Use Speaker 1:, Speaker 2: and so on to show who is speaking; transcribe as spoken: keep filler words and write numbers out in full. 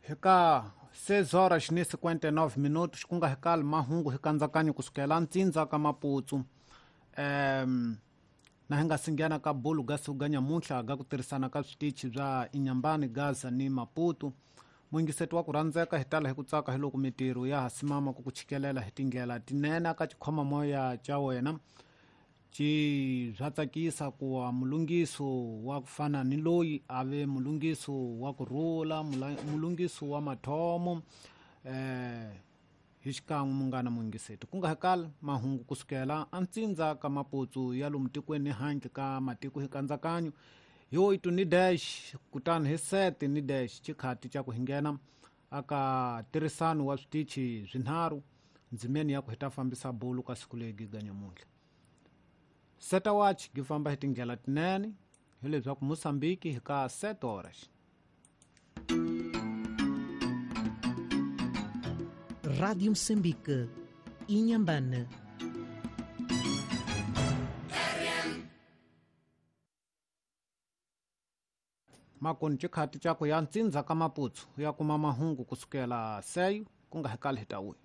Speaker 1: Hika seis horas ni cinquenta e nove minutos ku nga hikali mahungu hi kandzakanyo kusukela ntsindza ka Maputsu. Um, na hi nga singhena ka bulu ga siku ga nyamuntlha ga ku tirhisana ka switichi bya Inhambane, Gaza ni Maputo. Muyingiseti wa ku rhandzeka hi tala hi ku tsaka hi loko mitirho ya ha simama ku ku chikelela hi tindlela tinene ka xikhomamoya xa wena. Ci bya tsakisa ku wa mulungiso wa ku fana ni loyi a ve mulungiso wa ku rhula, mulungiso wa mathomo eh hi xikan'we munghana muyingiseti. Ku nga hakali mahungu kusukela antsindza ka Maputsu ya lomu tikweni handle ka matiko hi kandzakanyo hi oito ni dash kutani hi sete ni dash xikhati xa ku hinghena aka tirhisano wa switichi swinharhu ndzimeni ya ku hi ta fambisa bulu ka siku legi ga nyamuntlha. Seta watch gi famba hi tindlela tinene hileswaku Mozambique hi ka sete horas.
Speaker 2: Rádio Moçambique, Inhambane.
Speaker 1: Makoni xikhati xa ku ya ntsindza ka Maputsu ya kuma mahungu kusukela seyo ku nga hikali hi ta wuya.